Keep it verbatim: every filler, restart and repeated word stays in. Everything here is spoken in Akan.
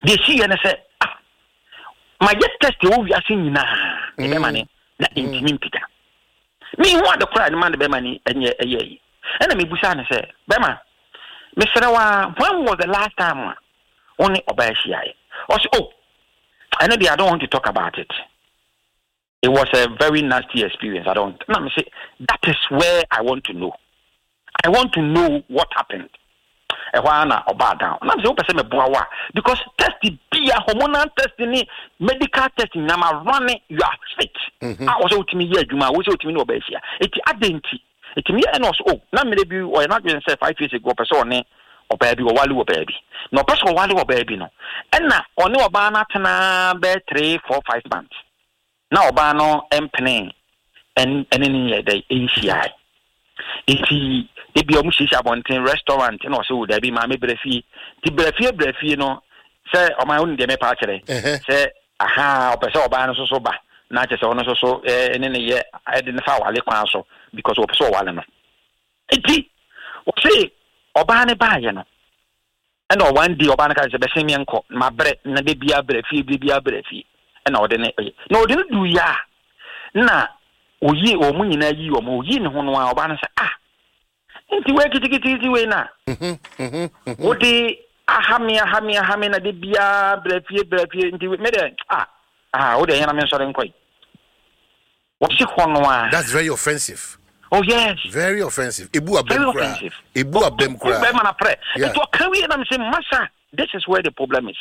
Deɛ siiɛ ne sɛ, ah, mayɛ test wɔ wiase nyinaa ne bɛma ne na ntumi mpagya. Mehu ade koraa ne ma ne bɛma ne ɛnyɛ ɛyɛ yi. Ɛna mebusaa ne sɛ, bɛma, mesrɛ wo a, when was the last time a wo ne ɔbaa hyiaeɛ? Ɔse, oh, ɛno deɛ, I don't want to talk about it. It was a very nasty experience. I don't. Na mese, that is where I want to know. I want to know what happened. Ɛhɔ ara na ɔbaa down. Na mese, wopɛ sɛ meboa wo a, because test bia, hormonal test ne medical test nyinaa ma run, you are fit. Mhm. A wɔsɛ wotumi yɛ adwuma a, wosɛ wotumi ne ɔbaa ahyia. Eti adɛn nti? Eti meyɛ ɛna ɔso, oh, na mmerɛ bi ɔyɛ n'adwene sɛ five years ago ɔpɛ sɛ ɔne ɔbaa bi ɔwale wɔ baabi. Na ɔpɛ sɛ ɔwale wɔ baabi no, ɛna ɔne ɔbaa no atena bɛyɛ three, four, five months. Na ɔbaa no mpene ɛne ne yɛ dɛ nhyiae. Nti ebi ɔmo hyehyɛ abɔnten restaurant na ɔsɛ, o dabi, maame, brɛ fie. Nti brɛ fie, brɛ fie no sɛ ɔman wo ne deɛ mɛpa akyerɛ Ɛhɛ. sɛ aha ɔpɛ sɛ ɔbaa no nso so ba na kyerɛ sɛ ɔno nso so ɛɛ ne ne yɛ ɛde ne fa awale kwan so because ɔpɛ sɛ ɔwale no. Nti wɔse ɔbaa no baayɛ no, ɛna one day ɔbaa no ka sɛ, bɛsɛn mi nkɔ ma brɛ na de bia brɛ fie, de bia brɛ fie. Ɛna ɔde ne ɛyɛ na ɔde no du yɛ a, na oyi wɔn mu nyinaa yi wɔn, oyi ne ho no a, ɔbaa no sɛ, ah, nti wei kitikiti wei na Mhm, mhm, mhm. wode ahame ahame ahame na de bia brɛ fie, brɛ fie. Nti me deɛ, ah ah, wode ɛyɛ na me nsɔre nkɔ yi, wɔsi hɔ no a. That's very offensive. Oh yes. Very offensive. Ebu very abɛm koraa. Offensive. Ebu abɛm koraa. Bɛrima na prɛ. Yeah. Nti ɔka wie na me sɛ, masa, this is where the problem is.